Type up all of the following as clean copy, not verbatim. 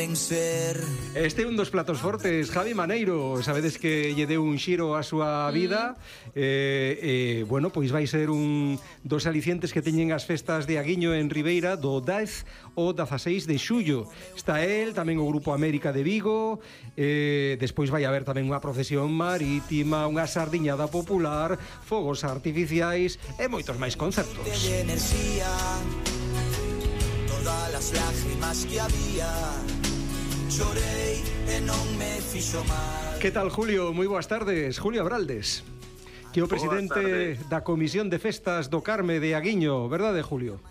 queren ser. Este é un dos platos fortes, Javi Maneiro. Sabedes que lle deu un xiro á súa vida. Bueno, pois vai ser un dos alicientes que teñen as festas de Aguiño en Ribeira do 10 ao 16 de xullo. Está el, tamén o Grupo América de Vigo. Despois vai haber tamén unha procesión marítima, unha sardiñada popular, fogos artificiais e moitos máis concertos. Enerxía, todas as lágrimas que había, chorei e non me fixo mal. Que tal, Julio? Moi boas tardes. Julio Abraldes, que é o presidente da Comisión de Festas do Carme de Aguiño, verdade, Julio?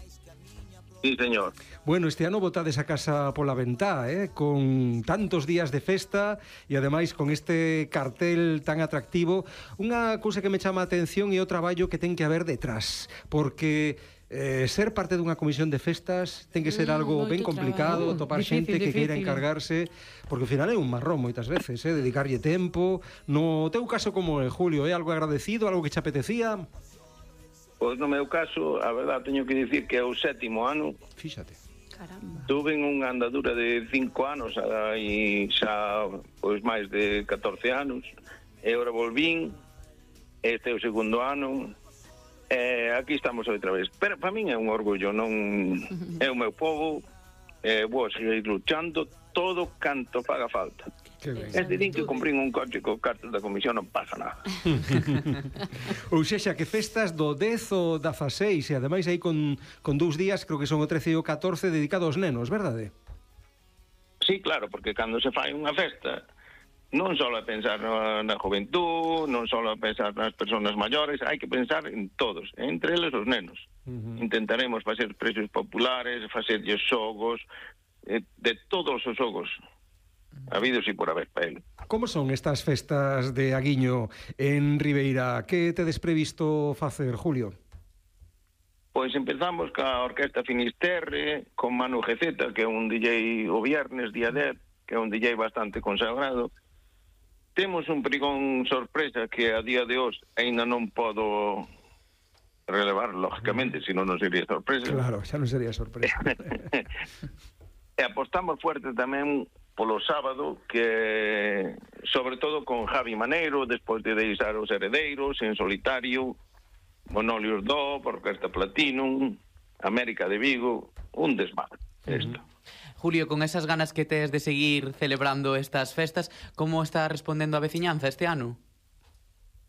Sí, señor. Bueno, este ano botades a casa pola ventá, con tantos días de festa e ademais con este cartel tan atractivo. Unha cousa que me chama a atención é o traballo que ten que haber detrás, porque ser parte dunha comisión de festas ten que ser algo ben complicado, topar xente que queira encargarse, porque ao final é un marrón moitas veces, dedicarlle tempo. No teu caso como é, Julio, é algo agradecido, algo que che apetecía? Pois no meu caso, a verdade, teño que dicir que é o 7º ano. Fíxate. Caramba. Tuve unha andadura de 5 anos e xa pois máis de 14 anos e agora volvín. Este é o 2º ano e aquí estamos outra vez. Pero para min é un orgullo, non é o meu povo, vou seguir luchando todo canto faga falta. É dicir que comprín un coche co cartel da comisión, non pasa nada. Ou sexa, que festas do 10 ao 16 e ademais aí con 2 días, creo que son o 13 e o 14 dedicado aos nenos, verdade? Sí, claro, porque cando se fai unha festa non só é pensar na juventud, non só é pensar nas persoas maiores, hai que pensar en todos, entre eles os nenos. Intentaremos facer precios populares, facerlles xogos, de todos os xogos habidos e por haber para ele. Como son estas festas de Aguiño en Ribeira? Que tedes previsto facer, Julio? Pois empezamos ca Orquesta Finisterre, con Manu Geceta, que é un DJ o viernes, día 10, que é un DJ bastante consagrado. Temos un pregón sorpresa que a día de hoxe ainda non podo relevar, lógicamente, senón non sería sorpresa. Claro, xa non sería sorpresa. E apostamos fuerte tamén polo sábado, que sobre todo con Javi Maneiro, despois de deixar os Heredeiros, En Solitario, Monolios Do, Orquesta Platinum, América de Vigo, un desmadre isto. Julio, con esas ganas que tes de seguir celebrando estas festas, como está respondendo a veciñanza este ano?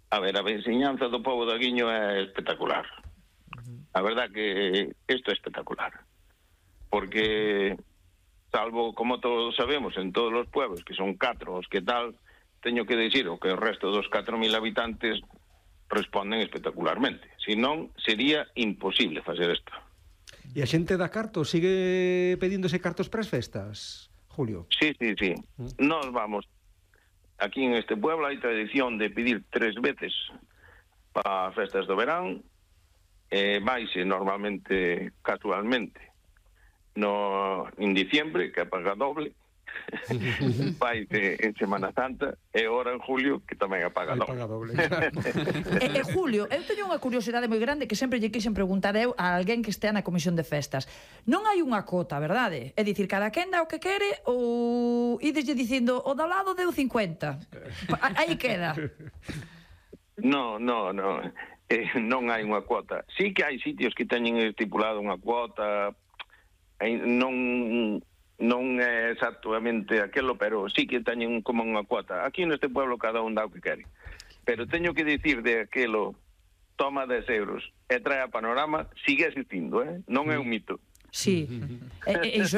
A ver, a veciñanza do povo de Aguiño é espectacular. A verdad que isto é espectacular. Porque salvo, como todos sabemos, en todos os pueblos, que son 4 os que tal, teño que dicir o que o resto dos 4.000 habitantes responden espectacularmente. Si non, sería imposible facer isto. E a xente da carto sigue pedíndose cartos para as festas, Julio? Sí. Nos vamos. Aquí en este pueblo hai tradición de pedir 3 veces para as festas do verán, vaise normalmente, casualmente, en diciembre, que paga doble, vai en Semana Santa, e ahora en julio, que tamén paga doble. Claro. Julio, eu teño unha curiosidade moi grande que sempre lle quixen preguntar eu a alguén que estea na comisión de festas. Non hai unha cota, verdade? É dicir, cada quen dá o que quere ou ideslle dicindo o do lado deu 50? Aí queda. Non hai unha cuota. Sí que hai sitios que teñen estipulado unha cuota, non é exactamente aquelo, pero sí que teñen como unha cuota. Aquí neste pueblo cada un dá o que quere. Pero teño que dicir de aquelo, toma 10 euros e trae a Panorama, sigue existindo, non é un mito. Sí, iso